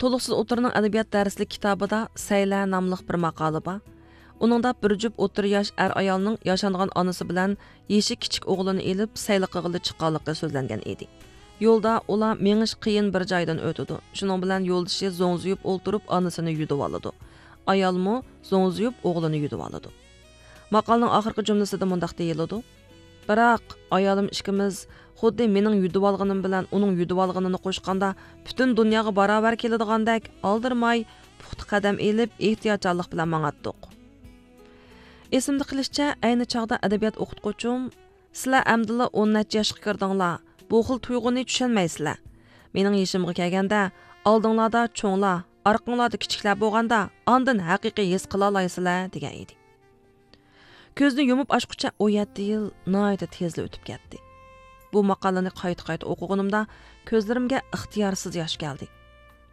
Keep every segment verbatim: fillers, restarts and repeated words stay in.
تولۇقسىز ئوتتۇرىنىڭ ئەدەبىيات دەرسلىك كىتابىدا سەيلە ناملىق بىر ماقالە بار. ئۇنىڭدا بىر جۈپ ئوتتۇرا ياش ئەر ئايالنىڭ ياشانغان ئانىسى بىلەن يېشى كىچىك ئوغلىنى ئېلىپ سەيلە قىلغىلى چىققانلىقى سۆزلەنگەن ئىدى. يولدا ئۇلار مېڭىش قىيىن بىر جايدىن ئۆتىدۇ. شۇنىڭ بىلەن يولدىشى زوڭزىيىپ ئولتۇرۇپ ئانىسىنى يۈدۈۋالىدۇ. ئايالمۇ زوڭزىيىپ ئوغلىنى يۈدۈۋالىدۇ. ماقالىنىڭ ئاخىرقى جۈملىسىدە مۇنداق دېيىلىدۇ: بىراق، ئايالىم ئىككىمىز خۇددى مېنىڭ يۈدۈۋالغىنىم بىلەن ئۇنىڭ يۈدۈۋالغىنىنى قوشقاندا پۈتۈن دۇنياغا باراۋەر كېلىدىغاندەك ئالدىرىماي، پۇختا قەدەم ئېلىپ، ئېھتىياتچانلىق بىلەن ماڭاتتۇق. ئېسىمدە قېلىشىچە، ئەينى چاغدا ئەدەبىيات ئوقۇتقۇچۇم، سىلەر ئەمدىلا ئون نەچچە ياشقا كىردىڭلار، بۇ خىل تۇيغۇنى چۈشەنمەيسىلەر. مېنىڭ يېشىمغا كەلگەندە، ئالدىڭلاردا چوڭلار، ئارقىڭلاردا كىچىكلەر بولغاندا، ئاندىن ھەقىقىي ھېس قىلالايسىلەر، دېگەن ئىدى. كۆزنى يۇمۇپ ئاچقۇچە ئون يەتتە يىل ناھايىتى تېزلا ئۆتۈپ كەتتى. بۇ ماقالىنى قايتا-قايتا ئوقۇغىنىمدا كۆزلىرىمگە ئىختىيارسىز ياش كەلدى.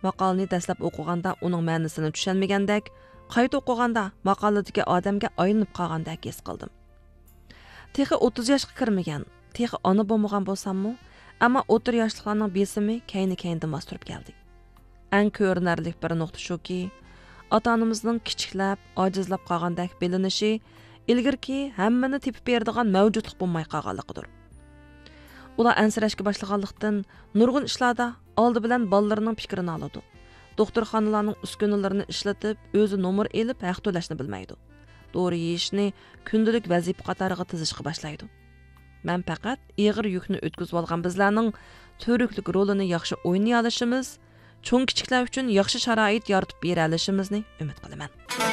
ماقالىنى دەسلەپ ئوقۇغاندا ئۇنىڭ مەنىسىنى چۈشەنمىگەندەك، قايتا ئوقۇغاندا ماقالىدىكى ئادەمگە ئايلىنىپ قالغاندەك ھېس قىلدىم. تېخى ئوتتۇز ياشقا كىرمىگەن، تېخى ئانا بولمىغان بولساممۇ، ئەمما ئوتتۇرا ياشلىقلارنىڭ بېسىمى كەينى-كەينىدىن باستۇرۇپ كەلدى. ئەڭ كۆرۈنەرلىك بىر نۇقتا شۇكى، ئاتا-ئانىمىزنىڭ كىچىكلەپ، ئاجىزلاپ قالغاندەك بىلىنىشى ئىلگىرىكى ھەممىنى تېپىپ بېرىدىغان مەۋجۇتلۇق بولماي قالغانلىقىدۇر. ئۇلار ئەنسىرەشكە باشلىغانلىقتىن، نۇرغۇن ئىشلاردا ئالدى بىلەن بالىلىرىنىڭ پىكرىنى ئالىدۇ. دوختۇرخانىلارنىڭ ئۈسكۈنىلىرىنى ئىشلىتىپ، ئۆزى نومۇر ئېلىپ ھەق تۆلەشنى بىلمەيدۇ. دورا يېيىشنى كۈندىلىك ۋەزىپە قاتارىغا تىزىشقا باشلايدۇ. مەن پەقەت ئېغىر يۈكنى ئۆتكۈزۈۋالغان بىزلەرنىڭ تۈۋرۈكلۈك رولىنى ياخشى ئوينىيالىشىمىز، چوڭ-كىچىكلەر ئۈچۈن ياخشى شارائىت يارىتىپ بېرەلىشىمىزنى ئۈمىد قىلىمەن.